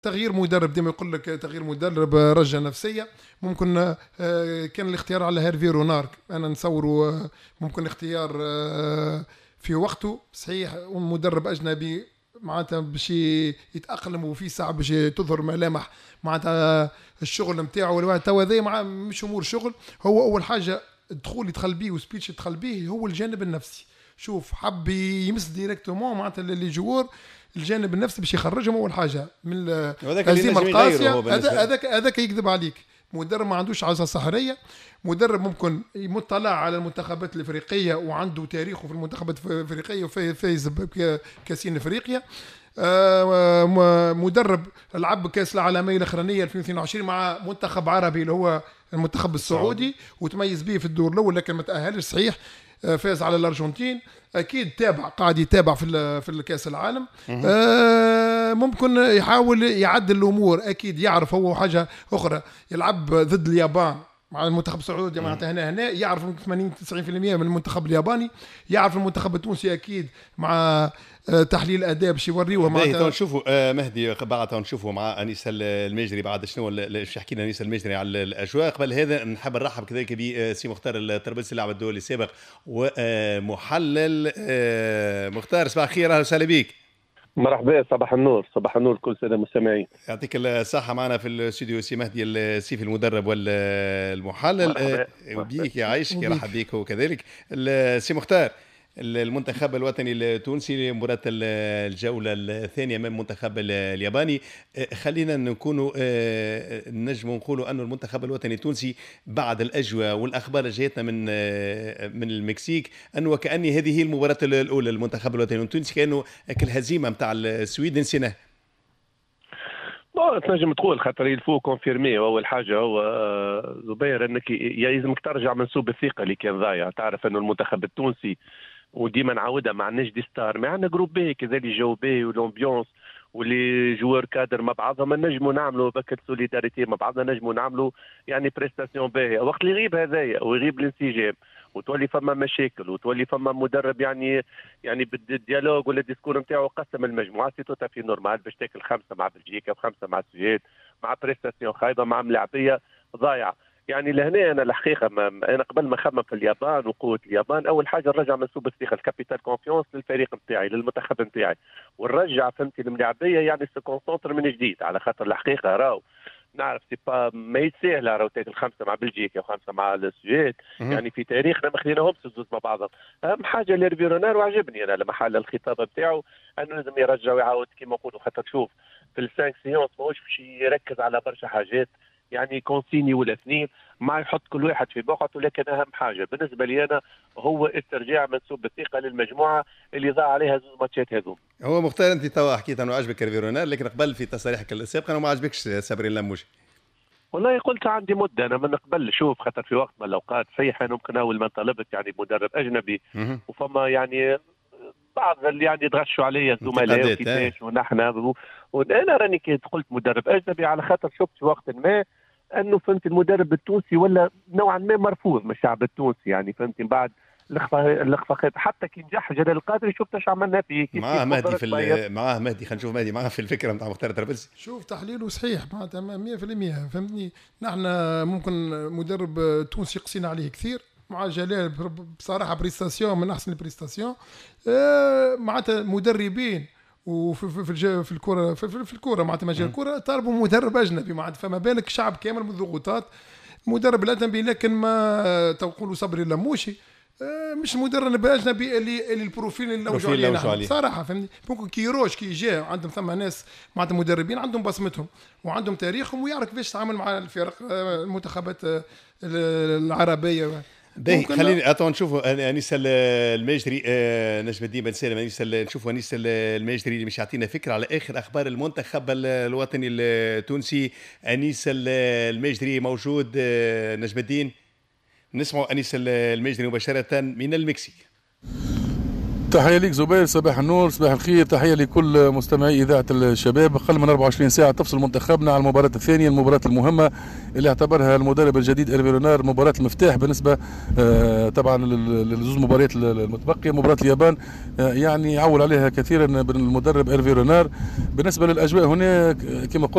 تغيير مدرب، ديما يقول لك تغيير مدرب رجه نفسيه. ممكن كان الاختيار على هيرفي رونار، انا نصوره ممكن اختيار في وقته صحيح، مدرب اجنبي معناتها باش يتاقلم وفي ساعة باش تظهر ملامح معناتها الشغل نتاعو. توا هذا مش امور شغل، هو اول حاجة الدخول يدخل بيه و speech يدخل به هو الجانب النفسي. شوف حب يمس directement معناتها les joueurs الجانب النفسي باش يخرجهم اول حاجة من الهزيمة القاسيه. هذاك يكذب عليك، مدرب ما عندوش عصا سحريه، مدرب ممكن مطلع على المنتخبات الافريقية وعنده تاريخه في المنتخبات الافريقية وفايز بكاسين افريقيا. مدرب لعب كاس العالمية الاخرانية 2022 مع منتخب عربي اللي هو المنتخب السعودي وتميز به في الدور الاول لكن ما تاهلش صحيح، فاز على الارجنتين. اكيد تابع، قاعد يتابع في الكاس العالم. ممكن يحاول يعدل الامور، اكيد يعرف هو حاجة اخرى، يلعب ضد اليابان مع المنتخب السعودي معناتها هنا يعرف 80 90% من المنتخب الياباني، يعرف المنتخب التونسي اكيد مع تحليل اداء باش يوريوه معناتها. نشوفوا مهدي بعد نشوفوا مع انيس الماجري بعد شنو باش يحكي لنا انيس الماجري على الاجواء. قبل هذا نحب نرحب كذلك بسي مختار الطرابلسي اللاعب الدولي السابق ومحلل. مختار صباح الخير، اهلا وسهلا بك. مرحبا، صباح النور، صباح النور كل سنة مستمعين. يعطيك الصحة. معنا في الاستوديو سي مهدي السيفي المدرب والمحلل. بيك يعيشك، يرحب بيك وكذلك سي مختار. المنتخب الوطني التونسي مباراة الجولة الثانية أمام المنتخب الياباني، خلينا نكونوا نجم نقولوا أن المنتخب الوطني التونسي بعد الأجواء والأخبار اللي جاتنا من المكسيك أنه وكأن هذه هي المباراة الأولى للمنتخب الوطني التونسي، كأنه الهزيمة نتاع السويد نسيناه. تنجم تقول خاطر il faut confirmer. اول حاجة هو زبير انك يلزمك ترجع منسوب الثقة اللي كان ضايع. تعرف انه المنتخب التونسي وديما نعاودها ما عندناش des stars، ما عندنا groupe باهي كذا اللي جو باهي وال ambiance و les joueurs cadres مع بعضهم، نجموا نعملوا بكل solidarité مع بعضنا، نجموا نعملوا يعني prestation باهيه. وقت اللي يغيب هذايا ويغيب الانسجام وتولي فما مشاكل وتولي فما مدرب يعني بال dialogue ولا ال discours نتاعو قسم المجموعة، c'est tout à fait normal باش تاكل 5 مع بلجيكا وخمسة مع السويد مع prestation خايبة مع ملاعبيه ضايعة. يعني لهنا انا الحقيقة انا قبل ما نخمم في اليابان وقوه اليابان، اول حاجة نرجع منسوب الثقة ال capital confiance للفريق نتاعي للمنتخب نتاعي، ونرجع فهمتي الملاعبيه يعني se concentre من جديد. على خاطر الحقيقة راهو نعرف c'est pas ما يتساهل راهو تاكل 5 مع بلجيكا وخمسة مع السويد، يعني في تاريخنا ما خليناهمش الزوز مع بعضهم. اهم حاجة ليرفي رونار وعجبني انا لما حل الخطاب نتاعو انه لازم يرجع ويعاود كيما نقولوا، خاطر شوف في ال cinq séances ماهوش باش يركز على برشا حاجات، يعني consigne ولا اثنين ما يحط كل واحد في بقعته. لكن اهم حاجة بالنسبة لي انا هو استرجاع منسوب الثقة للمجموعة اللي ضاع عليها زوج ماتشات هذو. هو مختار انت توا حكيت انه عجبك هيرفي رونار، لكن قبل في تصاريحك السابقة انه ما عجبكش صبري اللموشي. والله قلت عندي مده انا من قبل، شوف خاطر في وقت من الاوقات صحيح انا ممكن اول ما طلبت يعني مدرب اجنبي وفما يعني بعض اللي يعني تغشوا عليا الزملاء وكيفاش ونحن وانا راني كي قلت مدرب اجنبي على خاطر شفت في وقت ما انه فهمت المدرب التونسي ولا نوعا ما مرفوض من الشعب التونسي، يعني فهمت من بعد الاخفاقات حتى كي نجح جلال القادري شفت اش عملنا فيه. معاه مهدي في معاه مهدي، خلينا نشوف مهدي معاه في الفكرة نتاع مختار طرابلسي. شوف تحليله صحيح معناتها 100% فهمتني. نحن ممكن مدرب تونسي قسينا عليه كثير مع جلال بصراحة prestation من احسن ال prestations معناتها مدربين وفي في في, في الكره في الكره معناتها مجال الكره طالبوا مدرب اجنبي معناتها، فما بالك شعب كامل من الضغوطات مدرب الاجنبي. لكن ما تقولوا صبري اللموشي مش مدرب اجنبي اللي ال profil اللي لوجوا عليه صراحة فهمتني. ممكن كيروش كي جا عندهم ثم ناس معناتها مدربين عندهم بصمتهم وعندهم تاريخهم ويعرف كيفاش يتعامل مع الفرق المنتخبات العربية. باهي خليني attends نشوفوا انيس الماجري نجم الدين بن سالم. انيس نشوفوا انيس الماجري اللي مش يعطينا فكرة على اخر اخبار المنتخب الوطني التونسي. انيس الماجري موجود نجم الدين؟ نسمعوا انيس الماجري مباشرة من المكسيك. تحية لك زبير، صباح النور، صباح الخير، تحية لكل مستمعي إذاعة الشباب. أقل من 24 ساعة تفصل منتخبنا على المباراة الثانية، المباراة المهمة اللي اعتبرها المدرب الجديد إيرفي رونار مباراة المفتاح بالنسبة طبعا للزوز مباريات المتبقية. مباراة اليابان يعني عول عليها كثيرا المدرب إيرفي رونار. بالنسبة للأجواء هنا كما قلت